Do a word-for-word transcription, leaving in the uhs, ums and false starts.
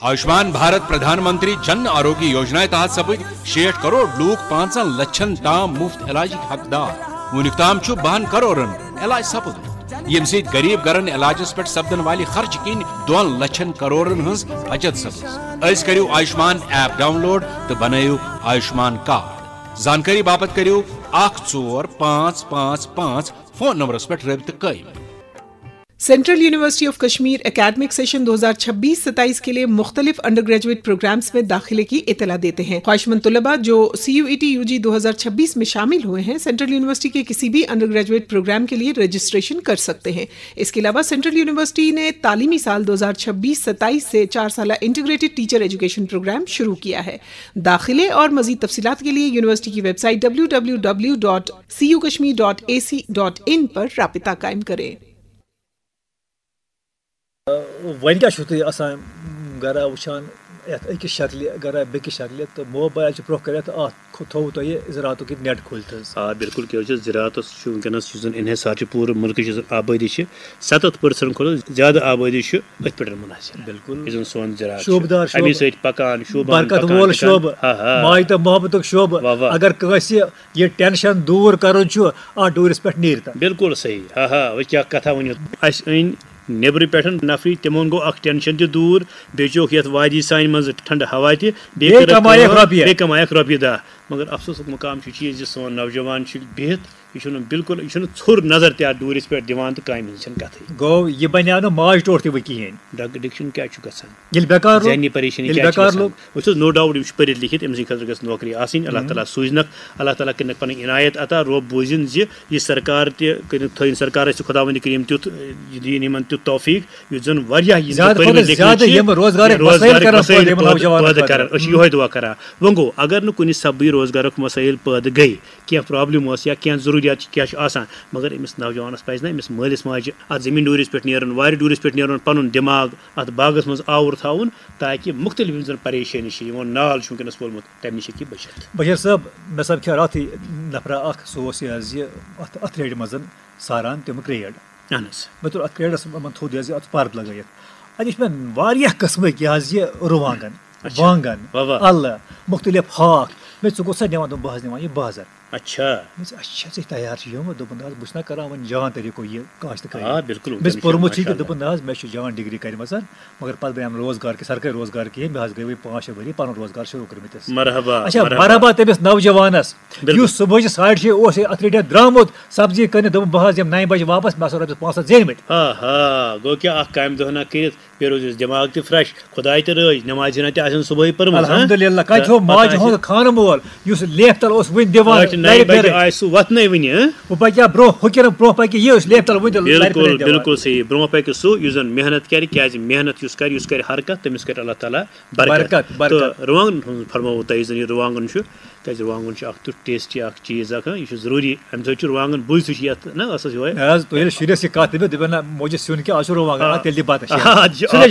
آیوشمان بھارت پردھان منتری جن آروگیہ یوجنا تحت سپٕدۍ شیٹھ کروڑ لوٗکھ پانٛژن لچھن تام مفت علاجٕکۍ حقدار۔ وُنیُک تام چھُ بَہَن کرورن علاج سپُدمُت، ییٚمہِ سۭتۍ غریب گرن علاجس پٮ۪ٹھ سپدن والہِ خرچہٕ کِنۍ دۄن لچھن کرورن ہٕنٛز بچت سپٕز۔ أزۍ کٔرِو آیوشمان ایپ ڈاؤن لوڈ تہٕ بنٲیِو آیوشمان کارڈ۔ زانکٲری باپتھ کٔرِو اکھ ژور پانٛژھ پانٛژھ پانٛژھ فون نمبرس پٮ۪ٹھ رٲبطہٕ قٲیِم۔ Central university of Kashmir academic session دو ہزار چھبیس ستائیس کے لیے مختلف انڈر گریجویٹ پروگرامز میں داخلے کی اطلاع دیتے ہیں۔ خواہشمند طلباء جو C U E T U G دو ہزار چھبیس میں شامل ہوئے ہیں، سینٹرل یونیورسٹی کے کسی بھی انڈر گریجویٹ پروگرام کے لیے رجسٹریشن کر سکتے ہیں۔ اس کے علاوہ سینٹرل یونیورسٹی نے تعلیمی سال دو ہزار چھبیس ستائیس سے چار سالہ انٹیگریٹڈ ٹیچر ایجوکیشن پروگرام شروع کیا ہے۔ داخلے اور مزید تفصیلات کے لیے یونیورسٹی کی website W W W dot C U Kashmir dot A C dot in پر رابطہ قائم کریں۔ وۄنۍ کیٛاہ چھُو تُہۍ آسان گرا وٕچھان یَتھ أکِس شکلہِ گرا بیٚکِس شکلہِ تہٕ موبایل چھُ برٛونٛہہ کَنٮ۪تھ اَتھ کھو- تھوٚوُ تۄہہِ زِراتُک یہِ نٮ۪ٹ کھوٗلِتھ حظ؟ آ بِلکُل، کیٛازِ چھُ زِراتَس چھُ وٕنکیٚنَس یُس زَن انحصار چھُ پوٗرٕ مُلکٕچ یُس زَن آبٲدی چھِ، سَتَتھ پٔرسَنٛٹ کھۄتہٕ زیادٕ آبٲدی چھُ أتھۍ پٮ۪ٹھ منحصر۔ بِلکُل۔ یُس زَن سون زِراعت چھُ، شوٗبدار شوٗبہٕ، اَمی سۭتۍ پَکان، شوٗبان، برکت پَکان، وول لِکھان۔ شوٗبہٕ، ہا، ہا۔ ماے تہٕ محبتُک شوٗبہٕ۔ واہ، واہ۔ اگر کٲنٛسہِ یہِ ٹینشن دوٗر کرُن چھُ، اتھ ڈوٗرِس پٮ۪ٹھ نیٖرۍ تو۔ بِلکُل صحیح۔ ہا ہا، وۄنۍ کیٛاہ کتھا ؤنِو۔ اَسہِ أنۍ نیٚبرٕ پٮ۪ٹھ نفری، تِمن گوٚو اکھ ٹینشن تہِ دوٗر، بیٚیہِ چوکھ یتھ وادی سانہِ منٛز ٹھنڈٕ ہوا تہِ، بیٚیہِ بیٚیہِ کٔرٕکھ کمایکھ کٲم، رۄپیہِ۔ بیٚیہِ کمایکھ رۄپیہِ دَہ۔ مگر افسوسُک مقام چھُ چیٖز زِ سون نوجوان چھُ بِہِتھ، یہِ چھُنہٕ بِلکُل، یہِ چھُنہٕ ژھوٚر نظر تہِ اتھ ڈوٗرِس پٮ۪ٹھ دِوان تہٕ کامہِ ہٕنٛز چھَنہٕ کَتھٕے۔ گوٚو یہِ بنیٛاو نہٕ ماج ٹوٹھ تہِ وۄنۍ کِہیٖنۍ۔ ڈرگ ایڈکشن کیٛاہ چھُ گژھان؟ ییٚلہِ بیکار روٗد، ذہنی پریشٲنی ییٚلہِ کیٛاہ چھِ بیکار گژھان؟ لوٚگ۔ وٕچھ حظ، نو ڈاوُٹ، یِم چھِ پٔرِتھ لیکھِتھ، أمۍ سٕنٛدِ خٲطرٕ گژھِ نوکری آسٕنۍ، اللہ تعالیٰ سوٗزنَکھ، اللہ تعالیٰ کٔرِنَکھ پَنٕنۍ عنایت عطا، رۄب بوٗزِن زِ یہِ سرکار تہِ کٔرِن، تھٲیِن سرکارَس تہِ خۄداوندِ کریم تیُتھ، یہِ دِیِن یِمَن تیُتھ توفیٖق، یُتھ زَن واریاہ یِم زیادٕ پٔرۍ کھۄتہٕ مٕتۍ لیکھۍ مٕتۍ زیادٕ چھِ، یِم روزگارٕکۍ یہِ وسٲیِل روزگارٕکۍ کَرَن وسٲیِل پٲدٕ، پٲدٕ پٲدٕ پٲدٕ کَرَن۔ کَرَن۔ أسۍ چھِ یِہوٚے دُعا کَران۔ وۄنۍ گوٚو، اگر نہٕ کُنہِ سببٕے روزگارُک وسٲیِل پٲدٕ گٔے، کینٛہہ پرابلم ٲس یا کینٛہہ ضروٗریات چھِ، کیٛاہ چھُ آسان، مگر أمِس نوجوانَس پَزِ نہ أمِس مٲلِس ماجہِ اَتھ زٔمیٖن ڈوٗرِس پٮ۪ٹھ نیرُن، وارِ ڈوٗرِس پٮ۪ٹھ نیرُن، پَنُن دٮ۪ماغ اَتھ باغَس منٛز آوُر تھاوُن، تاکہِ مُختٔلِف یِم زَن پریشٲنی چھِ، یِمَن نال چھُ وٕنکیٚنَس وولمُت، تَمہِ نِش ہیٚکہِ یہِ بٔچِتھ۔ بشیر صٲب، مےٚ سَمکھے راتھٕے نفرا اَکھ، سُہ اوس یہِ حظ یہِ اَتھ اَتھ ریڈِ منٛز ساران تَمیُک ریڈ۔ اَہَن حظ۔ مےٚ توٚر اَتھ ریڈَس منٛز تھوٚد یہِ حظ یہِ اَتھ پَرد لَگٲیِتھ۔ اَتہِ وٕچھ مےٚ واریاہ قٕسمٕکۍ یہِ حظ یہِ رُوانٛگَن، اچھا۔ وانٛگَن، واہ واہ۔ اَلہٕ، مُختٔلِف ہاکھ۔ مےٚ ژٕ کوٚت سا نِوان؟ دوٚپُن، بہٕ حظ نِوان یہِ بازر۔ اچھا۔ مےٚ ژٕ اچھا ژٕ تیار چھِ یِوان، دوٚپُن، نہ حظ، بہٕ چھُس نہ کران وۄنۍ جان طریٖقو یہِ کاشتہٕ کٲری۔ آ، بِلکُل، مےٚ وٕنکیٚنَس چھِ پٔرمٕژ چھِ کہِ ماشاء دوٚپُن، نہ حظ، مےٚ چھُ جان ڈگری کٔرمٕژ، مگر پتہٕ بنیٛام روزگار کہِ سرکٲرۍ روزگار کِہیٖنۍ، مےٚ حظ گٔے وۄنۍ پانٛژھ شےٚ ؤری پنُن روزگار شروٗع کٔرمٕتِس۔ مرحبا، اچھا، مرحبا۔ مرحبا تٔمِس نوجوانس، بِلکُل۔ یُس صُبحٲچہِ ساڑِ شےٚ اوس یہِ اتھ ریڈیو درٛامُت، سبزی کٕنِتھ، دوٚپُن، بہٕ حظ یِمہٕ نَیہِ بجہِ واپس، مےٚ ہسا رۄپیس پانٛژھ ہتھ زینۍ مٕتۍ۔ آ ہا، گوٚو کیٛاہ اکھ کامہِ دۄہ نا کٔرِتھ، بیٚیہِ روزِ اَسہِ دٮ۪ماغ تہِ fresh، خۄداے تہِ رٲضۍ، نٮ۪مازِ ہنا تہِ آسن صُبحٲے پٔرمٕژ، ہاں؟ الحمدللہ، کتہِ تہٕ تھوٚو پتہٕ ماجہِ آسہِ ہُنٛد خانہٕ مول، یُس لیفہِ تل اوس وُنہِ دِوان ٲٹھِ نَیہِ لرِ بجہِ پھِرِ۔ آسہِ سُہ وۄتھنَے وُنہِ، ہاں؟ وۄنۍ پکہِ ہا برٛونٛہہ، ہُہ کِنہٕ برٛونٛہہ پکہِ یہِ، یُس لیفہِ تل وُنہِ تہِ لرِ بِلکُل، پھِرِ دِوان۔ بِلکُل صحیح۔ برٛونٛہہ پکہِ سُہ، یُس زن محنت کرِ، کیٛازِ محنت یُس کرِ، یُس کرِ حرکت، تٔمِس کرِ اللہ تعالیٰ برکت۔ برکت، برکت۔ تہٕ رُوانٛگنن ہُنٛد فرمووُ تۄہہِ، یُس زن یہِ رُوانٛگن چھُ، کیٛازِ رُوانٛگن چھُ اکھ تیُتھ tasty اکھ چیٖز اکھ، ہاں، یہِ چھُ ضروٗری، اَمہِ سۭتۍ چھُ رُوانٛگن بُے سُہ چھُ یتھ، نہ، ٲسس یِہوٚے۔ نہ حظ، تُہۍ ییٚلہِ شُرِس یہِ کتھ دٔپِو، دٔپِو، نہ، موجی سیُن کیٛاہ، آز چھُ رُوانٛگن، آ۔ اَتھ تیٚلہِ دِ بتہٕ شیرِ۔ آ، اَتھ چھُ، سُہ چھُ اَتھ